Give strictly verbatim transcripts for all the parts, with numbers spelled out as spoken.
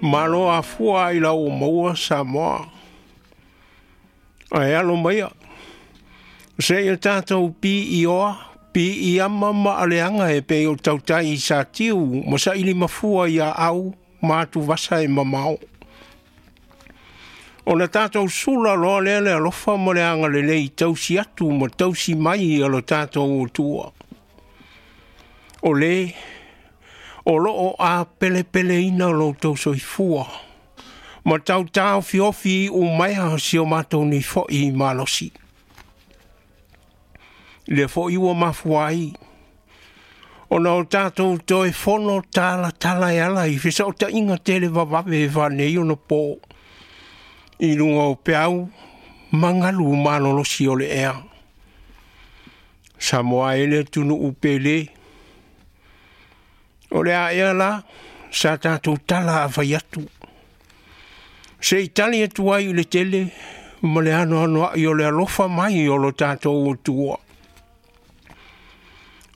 Malo afua i lau maua Samoa. Ae alo maia, se ia tātou pi i oa, pi i ama ma aleanga e pe o tautai i sa tiu, ma sa ili mafua ia au, ma atu vasa e mamao. O le tātou sula loa lea le alofa ma le anga lelei tausi atu ma tausi mai a lo tātou o tua. O le, o loo a pele pele ina lo tau soifua, ma tau tau fiofi u maia si o mātou ni foi malosi. Le foi ua mafuai, o na o tātou toe fono tala tala e ala i fesa o ta inga tele vavave e whanei o na pō. I lunga o peau, mangalu malolosi o le ea. Samoa ele tunu upele. O le a ea la, sa tātou tala a whai atu. Se i tali atu ai i le tele, ma le ano ano ai o le alofa mai o lo tātou o tua.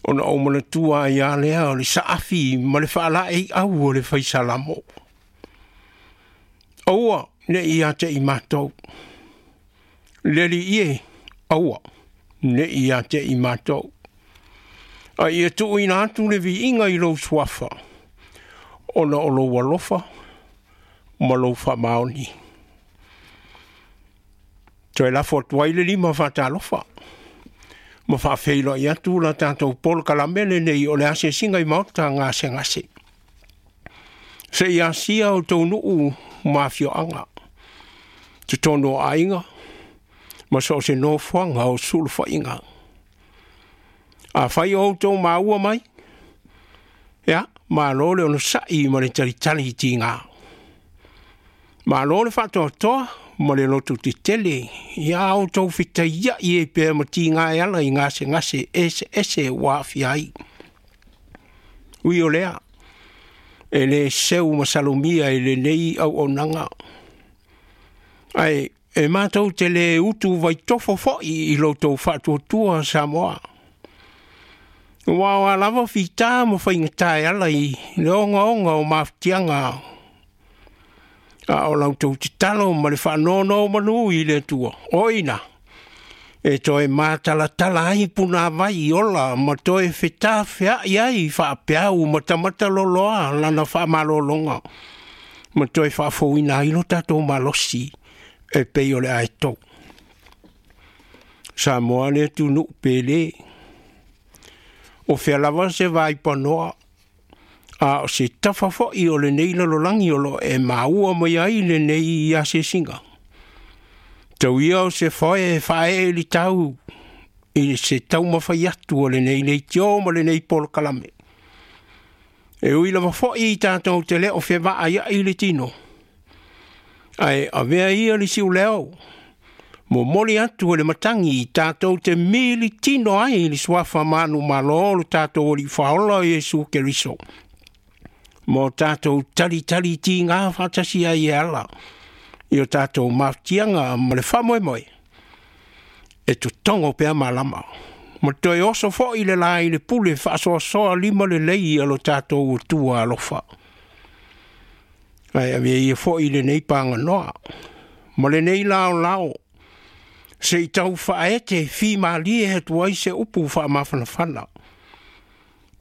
Ona o mana tua i a lea o le saafi ma le whaala e au o le whaisalamo. Aua, ne i a te i mātou. Leli ie, aua, ne i a te i mātou. A ia tuuina atu le viiga i lou suafa, ona o lou alofa ma lou faamaoni. Toe lafo atu ai le lima faatalofa, ma faafeiloai atu la tatou polokalame lenei o le asiasiga i maota gasegase. Se i asia o tou nuu ma afioaga, totonu o aiga, ma so o se nofoaga o sulufaiga. A fai o outou maua mai, ia, malo le onosa'i ma le talitali i tigā. Malo le faatoatoa ma le loto tetele, ia outou fetaia'i e pea ma tigā e ala i gasegase ese ese ua aafia ai. Ui o lea, e lē seu ma salomia i lenei auaunaga. Ae e matou te lē utu vaitofo fo'i i loutou faatuatua Samoa. Ua o a lava fitā ma faigata e ala i le ogaoga o mafutiaga a o lautou tatalo ma le faanonomanu i le Atua. O ina, e toe matalatala ai punāvai ola ma toe fetafea'i ai faapeau matamataloloa lana faamalologa ma toe faafouina ai lo tatou malosi e pei o le aetou. Samoa le atunuu pele. O fea lava se vaipanoa, a o se tafa fo'i o lenei lalolagi o loo e maua mai ai lenei asiasiga. Tau ia o se foe e faaee i tau i se taumafai atu o lenei leitio ma lenei polokalame. E ui lava fo'i i tatou te lē o fevaaia'i le tino. Ae avea ia le siuleo, momoli atu e le matagi i tatou te mili tino ai i le suafa manumalo o lo tatou Alii Faaola Iesu Keriso. Mo tatou talitali tigā faatasi ai e ala i o tatou mafutiaga ma le faamoemoe. E totogo pea malama. Ma toe oso fo'i le la i le pule faasoasoa lima lelei a lo tatou Atua alofa. Ae avea ia fo'i lenei paganoa ma lenei laolao se i tau faaete fimalie atu ai se upu faamafanafana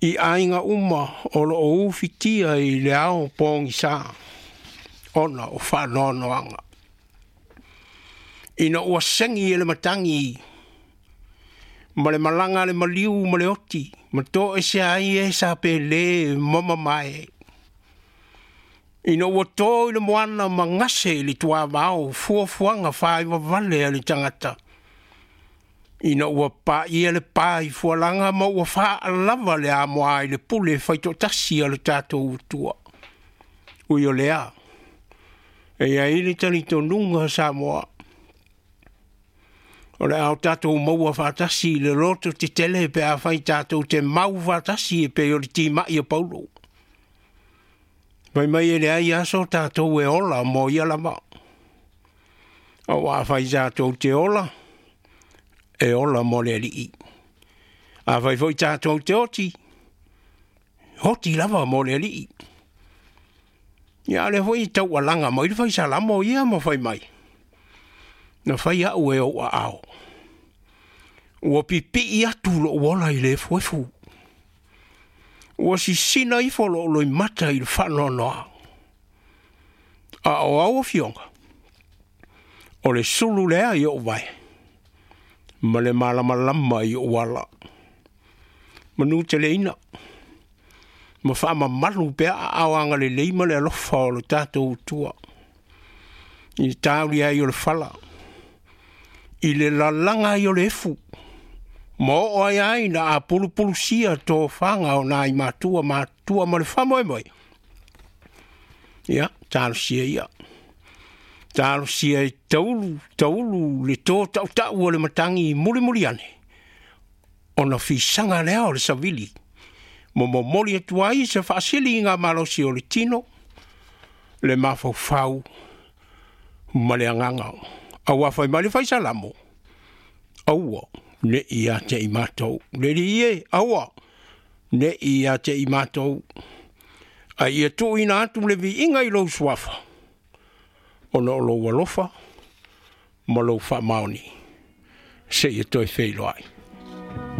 i aiga uma o loo ufitia i le ao pogisā ona o faanoanoaga. Ina ua segi e le matagi ma le malaga a le maliu ma le oti ma toese ai e sa pelē ma mamae. Ina ua to i le moana ma gase i le tuavao fuafuaga faaivavale a le tagata. Ina ua paia le pā i fualaga ma ua faalava le amoa i le pule faitoatasi a le tatou Atua. Ui o lea, e i ai le talitonuga Samoa. O le ao tatou maua faatasi i le loto tetele pe afai tatou te mau faatasi e pei o le timai o Paulo. Mai mai e leai aso tatou e ola mo ia lava. Aua afai tatou te ola, e ola mo le Alii. Afai foi tatou te oti, oti lava mo le Alii. Ia lea foi taualaga mai le faisalamo ia ma fai mai, na fai au e ou aao, ua pipii atu lou ola i le efuefu, ua sisina ifo lou loimata i le faanoanoa. A o au afioga, o le sulu lea i ou vae, ma le malamalama i ou ala. Manu teleina, ma faamamalu pea aao agalelei ma le alofa o le tatou tua, i le tauli ai o le fala, i le lalaga ai o le efu, ma oo ai ai na apulupulusia tofaga o nai matua matua ma le faamoemoe. Ia, talosia ia. Talosia e taulu, taulu le tō tautau o le matagi mulimuli ane, ona fisaga lea o le savili, mo momoli atu ai se faasiliga malosi o le tino, le mafaufau ma le agaga. Auā fai mai le faisalamo, aua ne i ia te i matou. Le alii e, aua ne i ia te i matou. A ia tuuina atu le viiga i lou suafa, ona o lou alofa ma lou faamaoni, seia toe feiloai.